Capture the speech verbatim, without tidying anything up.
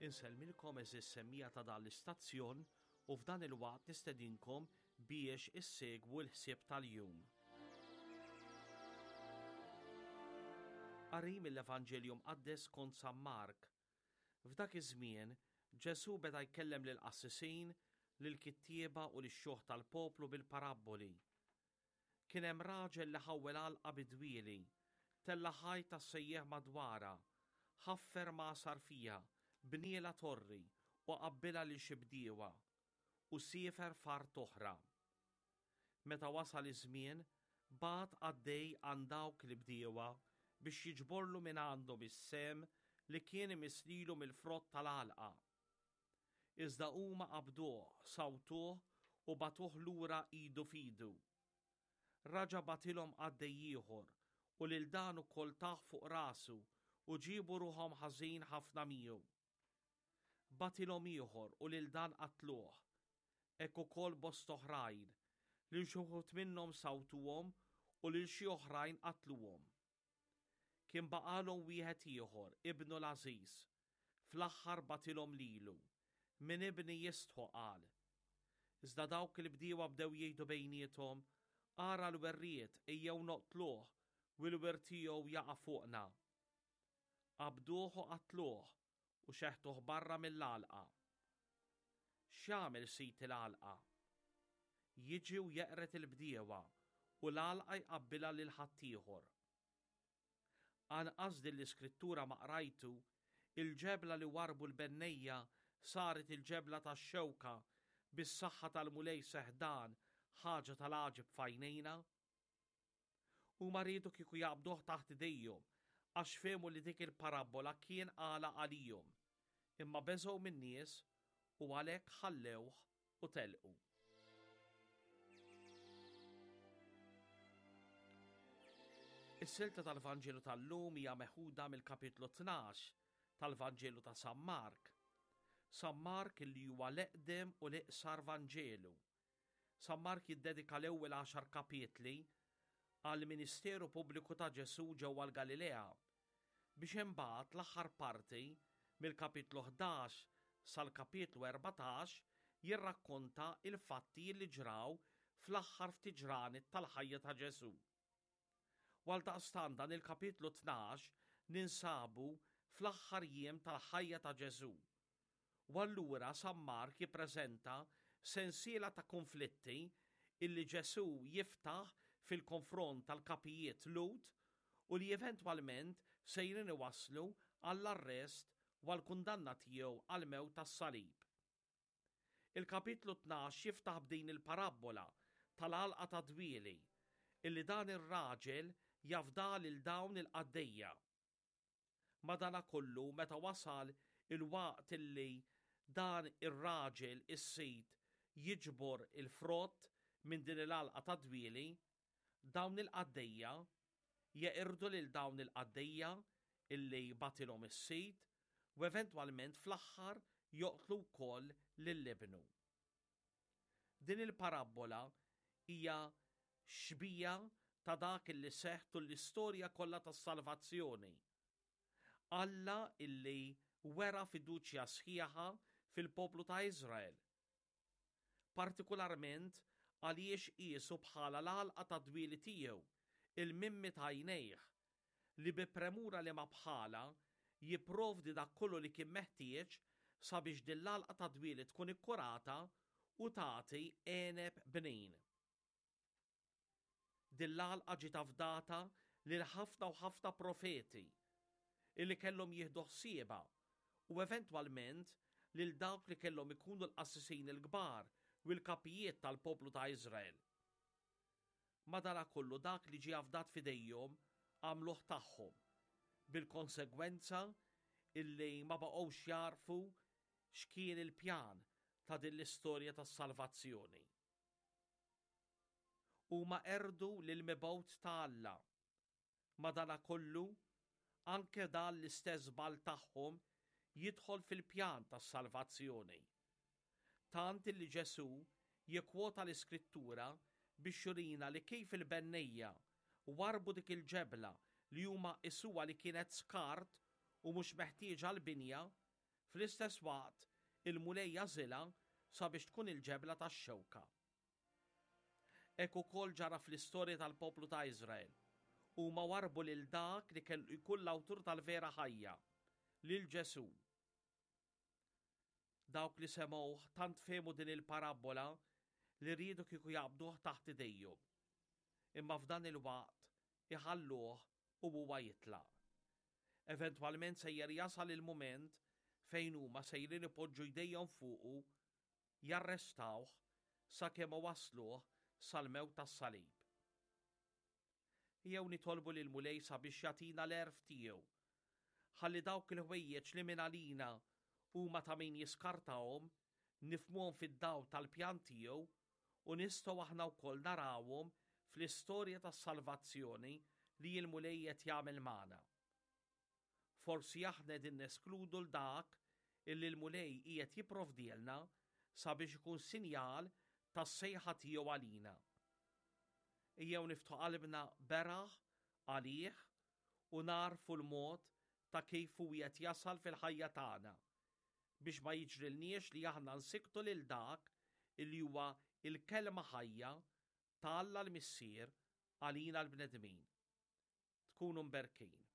Insellmilkom għeżież semmiegħa ta' dan l-istazzjon u f'dan il-waqt nistedinkom biex issegwu l-ħsieb tal-jum. Qari mill-Evanġelju Mqaddes skont San Mark. F'dak iż-żmien, Ġesù beda jkellem lill-qassisin, lill-kittieba u lix-xjuħ tal-poplu bil-parabboli. Kien hemm raġel li ħawwel għalqa bid-dwieli, tella' ħajt tas-sejjieħ madwarha, ħaffer magħsar fiha, bnielha torri u qabbilha lil xi bdiewa, u siefer f'art oħra. Meta wasal iż-żmien, bagħat qaddej għand dawk il-bdiewa biex jiġborlu minn għandhom is-sehem li kien imiss lilu mill-frott tal-għalqa. Iżda huma qabduh, sawtuh u bagħtuh lura idu f'idu. Raġa' bagħtilhom qaddej ieħor u lil dan ukoll tah fuq rasu u ġiebu ruħhom ħażin ħafna miegħu. Bagħtilhom ieħor u lil dan qatluh. Hekk ukoll bosta oħrajn, lil xi wħud minnhom sawtuhom u lil xi oħrajn qatluhom. Kien baqalhom wieħed ieħor, ibnu l-għażiż. Fl-aħħar bagħtilhom lilu. Minn ibni jistħu, qal. Iżda dawk il-bdiewa bdew jgħidu bejniethom, Ara l-werriet, ejjew noqtluh, u l-wirt tiegħu jaqa' fuqna. Qabduh u qatluh u xeħtuh barra mill-għalqa. X'jagħmel sid il-għalqa? Jiġi u jeqred il-bdiewa u l-għalqa jqabbilha lil ħaddieħor. Anqas din l-iskrittura ma qrajtu, il-ġebla li warrbu l-bennejja saret il-ġebla tax-xewka, bis-saħħa tal-Mulej seħħ dan, ħaġa tal-għaġeb f'għajnejna. Huma riedu kieku jaqbduh taħt idejhom, għax fehmu li dik il-parabbola kien qalha għalihom, imma beżgħu min-nies u għalhekk ħallewh u telqu. Is-silta tal-Vanġelu tal-lum hija meħuda mill-kapitlu tnax tal-Vanġelu ta' San Mark. San Mark li huwa l-eqdem u l-iqsar Vanġelu. San Mark jiddedika l-ewwel għaxar kapitli għall-ministeru pubbliku ta' Ġesù ġewwa l-Galilea, biex imbagħad l-aħħar parti mill-kapitlu ħdax sal-kapitlu erbatax jirrakkonta il-fatti li ġraw fl-aħħar ftit ġranet tal-ħajja ta' Ġesù. U għaldaqstant dan il-kapitlu tnax ninsabu fl-aħħar jiem tal-ħajja ta' Ġesù. U allura San Mark jippreżenta sensiela ta' konflitti illi Ġesù jiftaħ fil-konfront tal-kapijiet Lhud u li eventwalment sejrin iwasslu għall-arrest u għall-kundanna tiegħu għall-mewt tas-salib. Il-kapitlu tnax jiftaħ b'din il-parabbola tal-għalqa ta' dwieli illi dan ir-raġel jafda lil dawn il-qaddejja. Madanakollu meta wasal il-waqt illi dan ir-raġel is-sid jiġbor il-frott minn din il-għalqa ta' dwieli, dawn il-qaddejja jeqirdu lil dawn il-qaddejja illi batilhom is-sid u eventwalment fl-aħħar joqtlu wkoll lil ibnu. Din il-parabbola hija xbija ta' dak illi seħħ tul l-istorja kollha tas-salvazzjoni. Alla illi wera fiduċja sħiħa fil-poplu ta' Iżrael, partikolarment għaliex qiesu bħala l-għalqa ta' dwieli tiegħu, il-mimmi ta' għajnejh, li bi premura li ma bħala jipprovdi dak kollu li kien meħtieġ sabiex din l-għalqa ta' dwieli tkun ikkurata u tagħti għeneb bnin. Din l-għalqa ġiet afdata lil ħafna u ħafna profeti illi kellhom jieħdu ħsiebha u eventwalment lil dawk li kellhom ikunu l-qassisin il-kbar u l-kapijiet tal-poplu ta' Iżrael. Madanakollu dak li ġie afdat f'idejhom għamluh tagħhom, bil-konsegwenza illi ma baqgħux jarfu x'kien il-pjan ta' din l-istorja tas-salvazzjoni. Huma qerdu lil mibgħut ta' Alla. Madanakollu, anke dan l-istess żball tagħhom jidħol fil-pjan tas-salvazzjoni. Tant li Ġesù jikkwota l-Iskrittura biex jurina li kif il-bennejja warbu dik il-ġebla li huma qisuha li kienet skart u mhux meħtieġa l-binja, Fl-istess waqt, il-Mulej jagħżilha sabiex tkun il-ġebla tax-xewka. Hekk ukoll ġara fl-istorja tal-poplu ta' Iżrael. Huma warrbu lil dak li kellu jkun l-awtur tal-vera ħajja, lil Ġesù. Dawk li semgħuh tant fehmu din il-parabbola li riedu kieku jaqbduh taħt idejhom. Imma f'dan il-waqt iħalluh u huwa jitlaq. Eventwalment sejjer jasal il-mument fejn huma sejrin ipoġġu jdejhom fuqu, jarrestawh sakemm wasluh sal-mewt tas-salib. Ejjew nitolbu lill-Mulej sabiex jagħtina l-għerf tiegħu. Ħalli dawk il-ħwejjeġ li minn għalina huma ta' min jiskartahom, nifhmuhom fid-dawl tal-pjan tiegħu u nistgħu aħna wkoll narawhom fl-istorja tas-salvazzjoni li l-Mulej qed jagħmel magħna. Forsi aħna qegħdin neskludu 'l dak illi l-Mulej qiegħed jipprovdielna sabiex ikun sinjal tas-sejħa tiegħu għalina. Ejjew niftħu qalbna beraħ għalih u nagħrfu l-mod ta' kif hu qed jasal fil-ħajja tagħna biex ma jiġrilniex li aħna nsikktu lil dak illi huwa il-kelma ħajja ta' Alla l-Missier għalina l-bnedmin. Tkunu mberkin.